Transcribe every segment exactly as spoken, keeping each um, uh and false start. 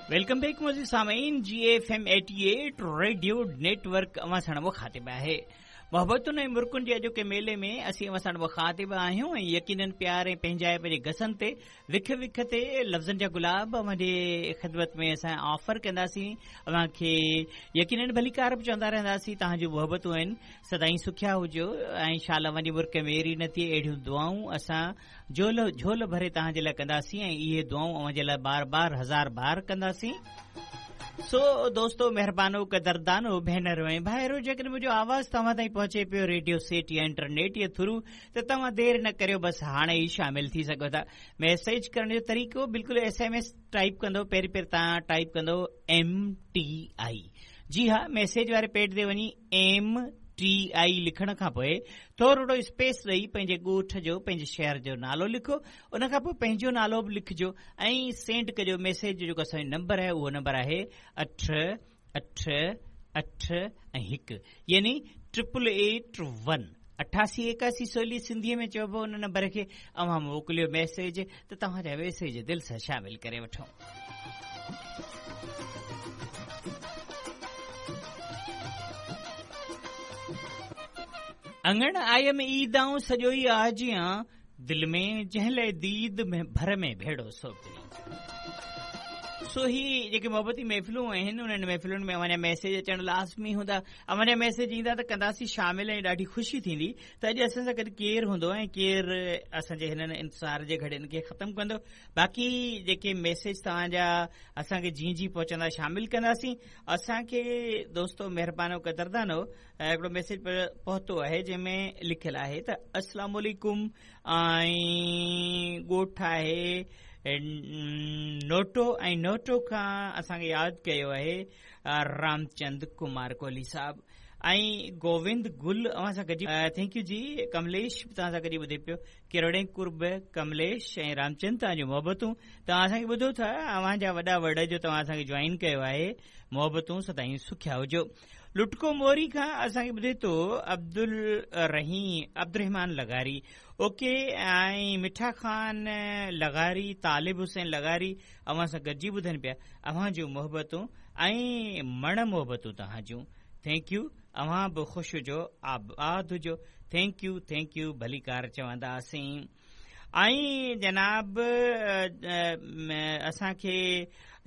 Welcome back मुअज़्ज़िज़ सामीन, G F M eighty eight radio network अवां सां मुखातिब आहे। मोहब्बतुनि ऐं मुर्कुनि जे अॼोके मेले में असीं अवां सां मुखातिब आहियूं ऐं यकीनन प्यार ऐं पंहिंजाइप जे गसनि ते विख विख ते लफ़्ज़नि जा गुलाब अव्हांजे ख़िदमत में असां ऑफर कंदासीं। अव्हांखे यकीनन भलीकार बि चवंदा रहंदासीं। तव्हांजूं मोहब्बतूं आहिनि, सदाईं सुखिया हुजो ऐं शाल अव्हांजी मुर्क मेरी न थिए। अहिड़ियूं दुआऊं असां झोल झोल भरे तव्हांजे लाइ कंदासीं ऐं इहे दुआऊं अव्हांजे लाइ बार बार हज़ार बार कंदासीं। सो दोस्तो, महिरबानो, कदरदानो, भेनरो ऐं भाइरो, जेकॾहिं मुंहिंजो आवाज़ तव्हां ताईं पहुचे पियो रेडियो सेट या इंटरनेट जे थ्रू, त तव्हां देरि न करियो, बसि हाणे ई शामिल थी सघो था। मैसेज करण जो तरीक़ो बिल्कुलु एस एम एस टाइप कंदो, पहिरीं पहिरीं तव्हां टाइप कंदो एम टी I. जी हा, मैसेज वारे पेज ते वञी एम टी I लिखण खां पोइ थोरो स्पेस ॾेई पंहिंजे ॻोठ जो, पंहिंजे शहर जो नालो लिखो, उन खां पोइ पंहिंजो नालो बि लिखिजो ऐं सेंड कजो मैसेज। जो जेको असांजो नंबर आहे उहो नंबर आहे अठ अठ अठ ऐं हिकु, यानी ट्रिपल एट वन, अठासी एकासी सोली सिंधीअ में चइबो उन नंबर खे। अव्हां मोकिलियो मैसेज त तव्हांजा मैसेज दिलि सां शामिल करे वठूं। अंगण आयम ईदाऊं सॼो ई आजियां, दिल में जंहिं लाइ दीद में भर में भेड़ो सोपरी। सो ही जेके मोहबती महफ़िलूं आहिनि उन्हनि महफ़िलुनि में अव्हांजा मैसेज अचणु लाज़मी हूंदा। अव्हांजा मैसेज ईंदा त कंदासीं शामिल ऐं ॾाढी ख़ुशी थींदी त अॼु असां सां गॾु केरु हूंदो ऐं केरु असांजे हिननि इंतज़ार जे घड़ियुनि खे ख़तमु कंदो। बाक़ी जेके मैसेज तव्हांजा असांखे जीअं जीअं पहुचंदा शामिल कंदासीं। असांखे दोस्तो महिरबानो कदरदानो हिकिड़ो मैसेज पहुतो आहे जंहिंमें लिखियलु आहे त अस्सलाम वालेकुम, ऐं ॻोठ आहे नोटो ऐं नोटो खां असांखे यादि कयो आहे रामचंद कुमार कोहली साहब ऐं गोविंद गुल अव्हां सां गॾिजी। Thank you जी। कमलेश बि तव्हां सां गॾिजी ॿुधे पियो। किरोड़े कुर्ब कमलेश ऐं रामचंद, तव्हांजूं मोहबतूं। तव्हां असांखे ॿुधो था, अव्हांजा वॾा वड़ जो तव्हां असांखे जॉइन कयो आहे। मोहबतूं सदाईं सुखिया हुजो। लुटको मोरी खां असांखे ॿुधे थो अब्दुल रहीम अब्दुल लगारी, ओके, ऐं मिठा खान लगारी, तालिब हुसैन लगारी अव्हां सां गॾिजी ॿुधनि पिया। अव्हां जूं मोहबतूं ऐं मण मोहबतूं तव्हां जूं। Thank you. अव्हां बि ख़ुशि हुजो, आबाद हुजो। Thank you, thank you, भलीकार चवंदासीं। ऐं जनाब असांखे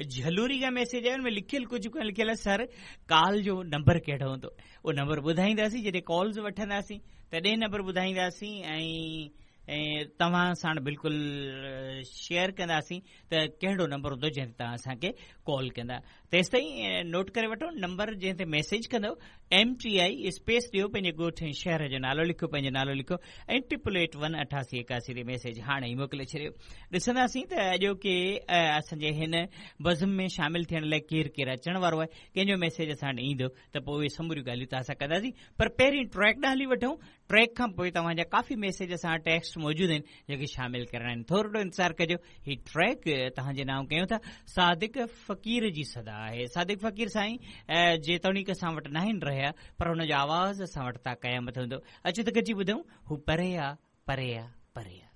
झलूरी खां मैसेज आयो, हुन में लिखियलु कुझु कोन लिखियलु आहे, सर कॉल जो नंबर कहिड़ो हूंदो? उहो नंबर ॿुधाईंदासीं जॾहिं कॉल्स वठंदासीं तॾहिं नंबर ॿुधाईंदासीं ऐं ऐं तव्हां साण बिल्कुलु शेयर कंदासीं त कहिड़ो नंबर हूंदो जंहिं ते तव्हां असांखे कॉल कंदा। तेसि ताईं नोट करे वठो नंबर जंहिं ते मैसेज कंदव, एम टी I space ॾियो, पंहिंजे ॻोठ ऐं शहर जो नालो लिखो, पंहिंजो नालो लिखो ऐं ट्रिपल एट वन अठासी एकासी ते मैसेज हाणे ई मोकिले छॾियो। ॾिसंदासीं त अॼोके असांजे हिन बज़म में शामिल थियण लाइ केरु केरु अचण वारो आहे, कंहिंजो मैसेज असां वटि ईंदो त पोइ उहे समूरियूं ॻाल्हियूं तव्हां सां कंदासीं। पर पहिरीं ट्रैक ॾांहुं हली वठूं। ट्रैक खां पोइ तव्हांजा काफ़ी मैसेज असां टेक्स्ट मौजूदु आहिनि जेके शामिल करणा आहिनि। थोरो इंतज़ारु कजो, ही ट्रैक तव्हांजे नाम कयूं था। सादिक फ़क़ीर जी सदा आहे। सादिक फ़क़ीर साईं जेतोणीक असां वटि न आहिनि रहिया, पर हुनजो आवाज़ असां वटि ता क़यामत हूंदो। अचो त गॾिजी ॿुधूं, हू परे आ, परे आ, परे आ।